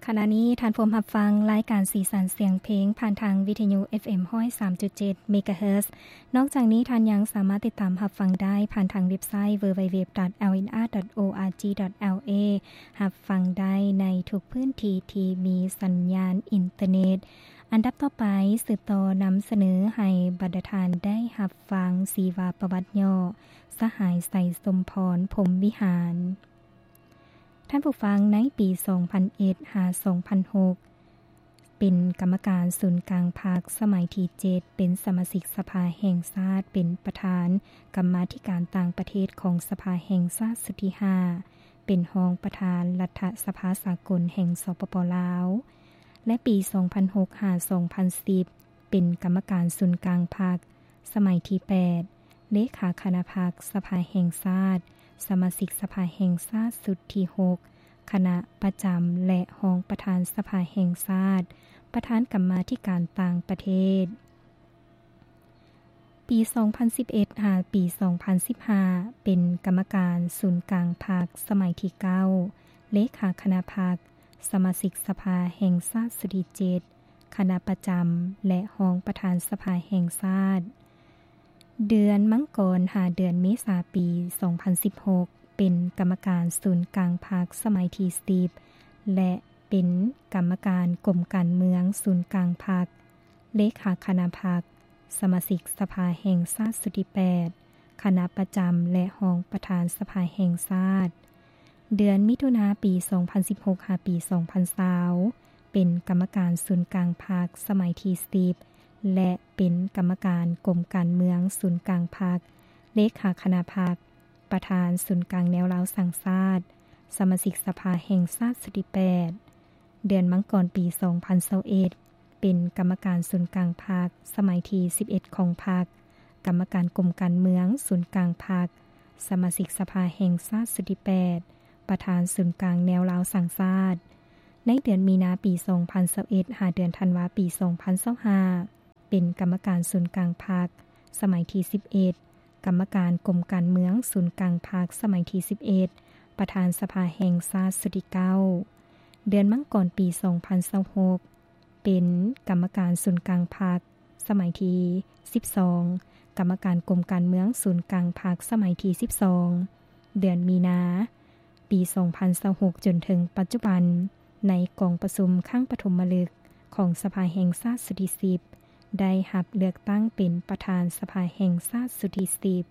ຂະນະນີ້ທ່ານພວມຮັບຟັງລາຍການສີສັນສຽງເພງ ຜ່ານທາງວິທະຍຸ ເອັຟເອັມ ຮ້ອຍສາມຈຸດເຈັດ ເມກາເຮີດ. ນອກຈາກນີ້ທ່ານຍັງສາມາດຕິດຕາມຮັບຟັງໄດ້ ຜ່ານທາງເວັບໄຊ www.lnr.org.la ຮັບຟັງໄດ້ໃນທຸກພື້ນທີ່ທີ່ມີສັນຍານອິນເຕີເນັດ. ອັນດັບຕໍ່ໄປ ສືບຕໍ່ນຳສະເໜີໃຫ້ບັນດາທ່ານໄດ້ຮັບຟັງຊີວະປະຫວັດຫຍໍ້ ສະຫາຍ ໄຊສົມພອນ ພົມວິຫານ. ທ່ານຜູ້ຟັງ, ໃນປີສອງພັນເອັດ ຫາ ສອງພັນຫົກ ເປັນກຳມະການສູນກາງພັກສະໄໝທີເຈັດ, ເປັນສະມາຊິກສະພາແຫ່ງຊາດ, ເປັນປະທານກຳມາທິການຕ່າງປະເທດຂອງສະພາແຫ່ງຊາດຊຸດທີຫ້າ, ເປັນຮອງປະທານລັດຖະສະພາສາກົນແຫ່ງ ສປປ ລາວ ແລະ ປີສອງພັນຫົກ ຫາ ສອງພັນສິບ ເປັນກຳມະການສູນກາງພັກສະໄໝທີແປດ, ເລຂາຄະນະພັກສະພາແຫ່ງຊາດ, ສະມາຊິກສະພາແຫ່ງຊາດຊຸດທີຫົກ, ຄະນະປະຈຳ ແລະ ຮອງປະທານສະພາແຫ່ງຊາດ, ປະທານກຳມາທິການຕ່າງປະເທດ. ປີສອງພັນສິບເອັດ ຫາ ປີສອງພັນສິບຫ້າ ເປັນກຳມະການສູນກາງພັກສະໄໝທີເກົ້າ, ເລຂາຄະນະພັກ, ສະມາຊິກສະພາແຫ່ງຊາດຊຸດທີເຈັດ, ຄະນະປະຈຳ ແລະ ຮອງປະທານສະພາແຫ່ງຊາດ. ເດືອນມັງກອນ ຫາ ເດືອນເມສາ ປີສອງພັນສິບຫົກ ເປັນກຳມະການສູນກາງພັກສະໄໝທີສິບ ແລະ ເປັນກຳມະການກົມການເມືອງສູນກາງພັກ, ເລຂາຄະນະພັກ, ສະມາຊິກສະພາແຫ່ງຊາດຊຸດທີແປດ, ຄະນະປະຈຳ ແລະ ຮອງປະທານສະພາແຫ່ງຊາດ. ເດືອນມິຖຸນາ ປີສອງພັນສິບຫົກ ຫາ ປີສອງພັນຊາວ ເປັນກຳມະການສູນກາງພັກສະໄໝທີສິບ ແລະ ເປັນກຳມະການກົມການເມືອງສູນກາງພັກ, ເລຂາຄະນະພັກ, ປະທານສູນກາງແນວລາວສ້າງຊາດ, ສະມາຊິກສະພາແຫ່ງຊາດຊຸດທີແປດ. ເດືອນມັງກອນ ປີສອງພັນຊາວເອັດ ເປັນກຳມະການສູນກາງພັກສະໄໝທີສິບເອັດຂອງພັກ, ກຳມະການກົມການເມືອງສູນກາງພັກ, ສະມາຊິກສະພາແຫ່ງຊາດຊຸດທີແປດ, ປະທານສູນກາງແນວລາວສ້າງຊາດ. ໃນເດືອນມີນາ ປີສອງພັນຊາວເອັດ ຫາ ເດືອນທັນວາ ປີສອງພັນຊາວຫ້າ ເປັນກຳມະການສູນກາງພັກສະໄໝທີສິບເອັດ, ກຳມະການກົມການເມືອງສູນກາງພັກສະໄໝທີສິບເອັດ, ປະທານສະພາແຫ່ງຊາດຊຸດທີເກົ້າ. ເດືອນມັງກອນ ປີສອງພັນຊາວຫົກ ເປັນກຳມະການສູນກາງພັກສະໄໝທີສິບສອງ, ກຳມະການກົມການເມືອງສູນກາງພັກສະໄໝທີສິບສອງ. ເດືອນມີນາ ປີສອງພັນຊາວຫົກ ຈົນເຖິງປັດຈຸບັນ, ໃນກອງປະຊຸມຄັ້ງປະຖົມມະລຶກຂອງສະພາແຫ່ງຊາດຊຸດທີສິບ ໄດ້ຮັບເລືອກຕັ້ງເປັນປະທານສະພາແຫ່ງຊາດຊຸດທີສິບ.